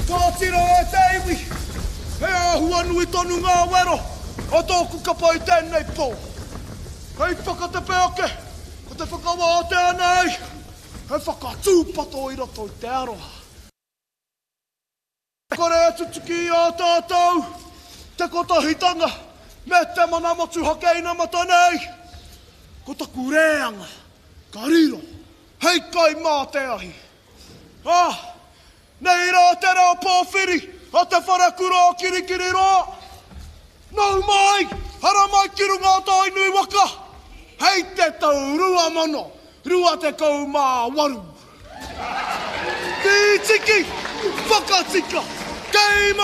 Kōtiro e te iwi, he āhua nui tonu ngā wero o tōku kapa i tēnei pō. Hei whakatepe ake, ko te whakawātea nei, he whakatūpato i roto i te aroha. Kore e tutuki i a tātou te kotahitanga me te mana motuhake inamata nei, ko taku rēanga ka riro hei kai mā te ahi. Ā, nei rā te reo pōwhiri a te wharekura o Kirikiriroa. Nau mai, haramai ki runga o Tainui waka, hei te tau 2028. Tītiki, whakatika, kei.